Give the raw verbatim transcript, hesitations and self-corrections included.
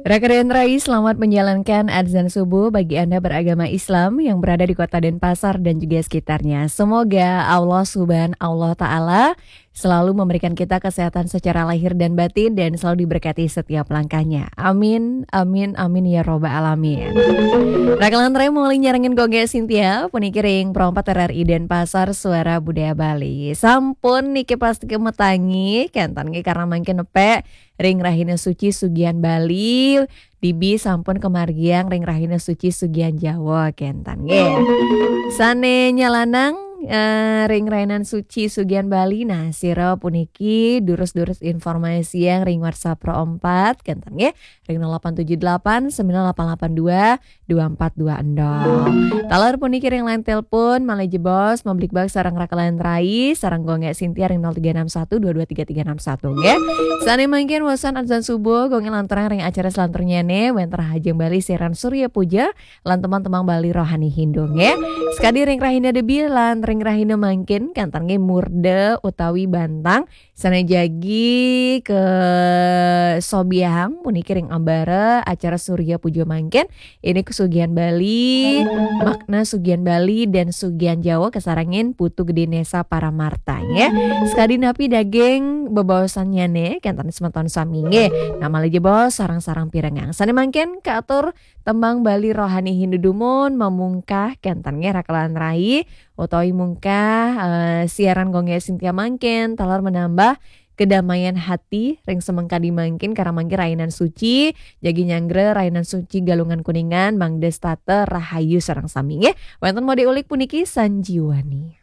Raka dan Rai, selamat menjalankan azan subuh bagi Anda beragama Islam yang berada di kota Denpasar dan juga sekitarnya. Semoga Allah Subhanahu Allah Ta'ala selalu memberikan kita kesehatan secara lahir dan batin dan selalu diberkati setiap langkahnya. Amin, amin, amin ya robbal alamin. Raka lan Rai, mulai nyarengin Gongge Sintia, puniki ring Pro empat R R I Denpasar, Suara Budaya Bali. Sampun niki pasti kemetangi, kenten nggih karena mangkin nepe ring rahina suci sugian Bali, dibi sampun kamargiang ring rahina suci sugian Jawa, kenten nggih. Sane nyalanang, eh, ring rahinan suci sugian Bali, nah, sira puniki durus-durus informasiang ring WhatsApp Pro empat, kenten nggih, ring nol delapan tujuh delapan sembilan delapan delapan dua dua empat dua enam. Taler puniki ring line telepon, malih jebos, mablikbak sareng Raka lan Rai, sareng Gongge Sintia ring nol tiga enam satu dua dua tiga tiga enam satu, nggih. Sane mangkin wasan azan subuh, Gongge lanturang ring acara selanturnyane, wenten Rahajeng Bali siaran Surya Puja, lan teman-teman Bali Rohani Hindu, nggih. Sekadi ring rahina debi, lan ring rahina mangkin, kenten nggih murda utawi bantang, sane jagi ke sobiahang puniki ring ambara acara Surya Puja mangkin, ini kesugihan Bali, makna sugihan Bali dan sugihan Jawa kasarengin Putu Gede Nesa Paramarta, nggih. Sekadi napi daging bebaosannyane, kenten semeton sami, nggih. Nah, malih jebos sareng-sareng pirengang. Sane mangkin katur tembang Bali Rohani Hindu dumun mamungkah, kenten nggih Raka lan Rai, utawi mungkah, eh, siaran Gongge Sintia mangkin, taler menambah kedamaian hati ring semeng kadi mangkin, karena mangkin rahinan suci, jagi nyanggra rahinan suci Galungan Kuningan, mangda setata rahayu sareng sami, nggih. Wenten mode ulik puniki Sanjiwani.